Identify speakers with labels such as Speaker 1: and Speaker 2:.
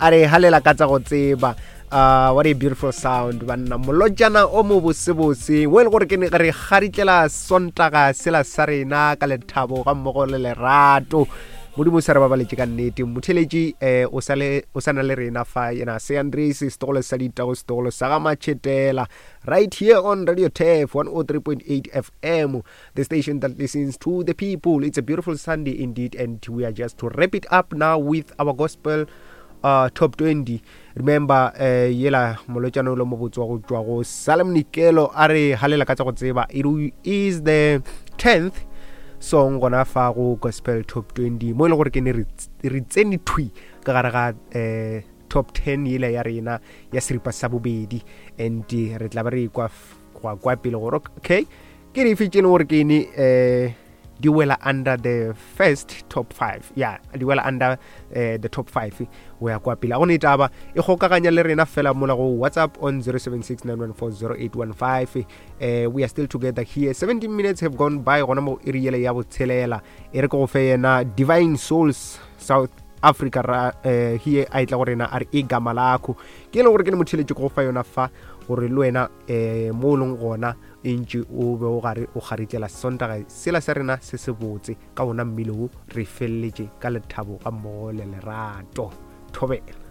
Speaker 1: A re halela ka tsa go tseba. What a beautiful sound banna molotšana o mo bosebose wo e le gore ke ne re garitlela sontaga sela sa rena ka lethabo ga mmogo le lerato modimo o sa re babaletše ka nnete motheletši um o sa na le rena fa yena se andres setogolo sa ditago setogolo sa ga matšhetela right here on radio tef 103.8 fm the station that listens to the people. It's a beautiful Sunday indeed, and we are just to wrap it up now with our gospel uh, top 20. Remember, uh, yela molotšana o le mobotse wa go tšwa go Salem Nikelo a re halela ka tsa go tseba. It is the 10th song gona fa go gospel top 20 mo e le gore ke ne re tsene thwi ka gare ga eh, top 10 yela ya rena ya seripa sa bobedi and re tla ba re ikwa go kwa pele gore okay ke dife tše e leng gore ke ene um di wela under the first top 5 ya di wela under uh, the top 5 o ya kwa pele a gone taba e kgokaganya le rena fela mola go whatsapp on 0769140815 uh, we are still together here 17 minutes have gone by gona mo iri yele ya botshelela e re ke go fe yena divine souls south africa ra uh, here a etla go rena a re e gama lakho ke e leng gore ke le motheletše go fa yona fa gore le wena um mo o leng gona e ntše o be o gare o kgaritlela sontaga sela sa rena se se botse ka ona mmele wo re feleletše ka lethabo ga mmogo le lerato thobela.